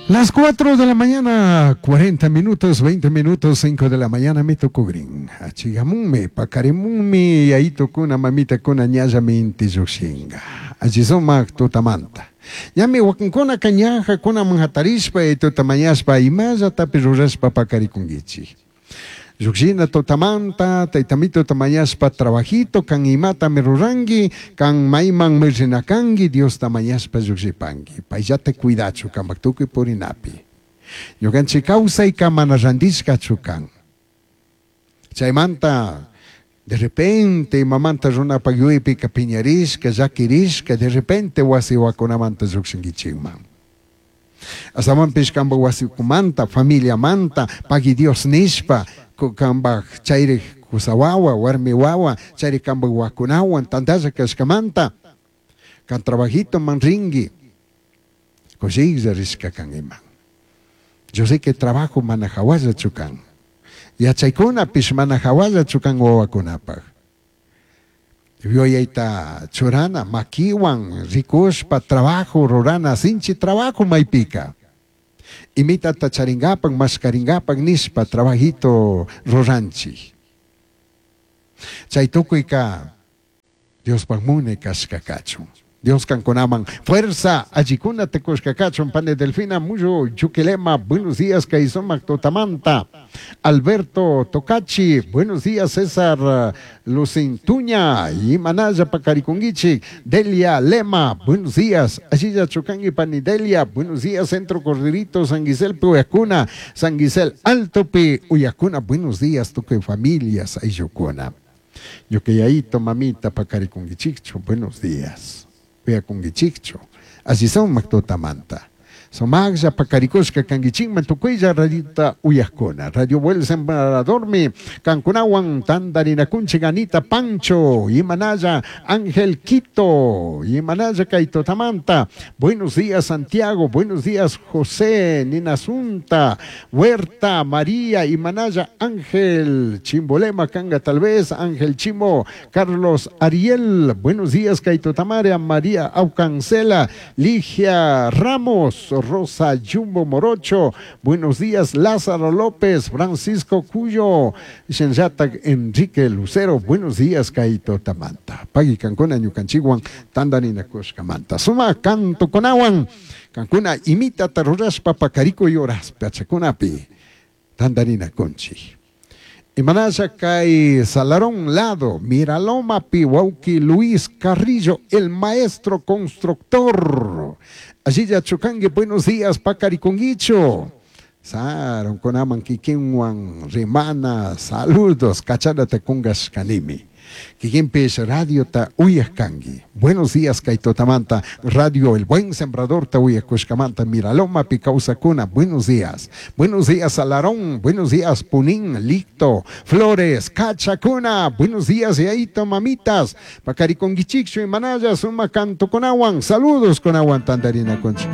Las 4 de la mañana, 40 minutos, 20 minutos, 5 de la mañana mi tukugrin. Achigamunmi, pakarimunmi, yayitukuna, mamitakuna, ñallami inti llujshinga. Alli sumak tutamanta. Ñami wakinkunaka ñajakunaman hatarishpa, yayituta mañashpa, imallatapish rurashpa pakarikunkichik. Llujshina tutamanta, taytamituta mañashpa trabajito, kan imatami ruranki, kan maymanmi rina kanki, Diosta mañashpa llujshipanki. Payllata cuidachu kampak tukuy purinapi. Ñukanchik kawsayka mana randishkachu kan. Chaymanta de repente imamanta runapak yuyaypika piñarishka, llakirishka, de repente wasi wakunamanta llukshinkichikman. Astawanpish kanpak wasikumanta, familiamanta, pagui Dios nishpa, kanpak chayrik kusa wawa, warmi wawa, chayrik kanpak wakunawan tantalla kashkamanta, kan trabajitoman rinki, kushiklla rishka kankiman. Yo sé que trabajo mana hawallachu kan. Yachaykunapish mana hawallachu kan wawakunapak. Yuyayta churana, makiwan rikushpa trabajo rurana, sinchi trabajo maypika. Imitata charingapak, mashkaringapak nishpa trabajito ruranchik. Chay tukuyka Diospak munay kashka kachun. Dios kankunaman fuerza allikunata kushka kachun. Pani Delfina Muyo Yuquilema, buenos días, kay sumak tutamanta. Alberto Tocachi, buenos días, César Lucintuña, Imanaya Pacarikunguichi, Delia Lema, buenos días, Allilla Chucangi Pani Delia, buenos días, Centro Corderito, San Guisel Uyacuna, San Guisel Altopi Uyacuna, buenos días, tukuy familias, Ayucuna. Ñuka mamita pacarikunguichikchu, buenos días. Uyakunguichikchu. Así son tutamanta. Sumaqlla pakarikushka kankichikman tukuylla radiota uyaqkuna. Radio Buen Sembradormi kankunawan tantarinakunchik Anita Pancho, Imanaya Ángel Quito, Imanaya kay tutamanta. Buenos días Santiago, buenos días José, Nina Asunta, Huerta, María, Imanaya Ángel, Chimbolema Kanga tal vez, Ángel Chimo, Carlos Ariel, buenos días kay tutamara, María Aucancela, Ligia Ramos, Rosa Jumbo Morocho, buenos días Lázaro López, Francisco Cuyo, Shenyatak Enrique Lucero, buenos días kay tutamanta. Pagui kankuna ñukanchikwan tantarinakushkamanta. Suma cantokunawan, kankuna imitata rurashpa pakarikuy horas pachakunapi tantarinakunchik. Imanaya kay Salarón lado, Miraloma Piwauki Luis Carrillo, el maestro constructor. Allí ya chukangi, buenos días, Pacariconguicho. Saron kunaman kikinwan rimana, saludos, kachanata kungas kanimi. Kikinpish radio ta uyajkangi. Buenos días, kay tutamanta. Radio El Buen Sembrador ta uyakushkamanta. Miraloma Picausacuna. Buenos días. Buenos días, Salarón. Buenos días, Punín, Licto, Flores, Cachacuna. Buenos días, Yaito, mamitas. Pacariconguichicchu y Manaya, Suma Canto Conahuan. Saludos, Conahuan, Tandarina Conchica.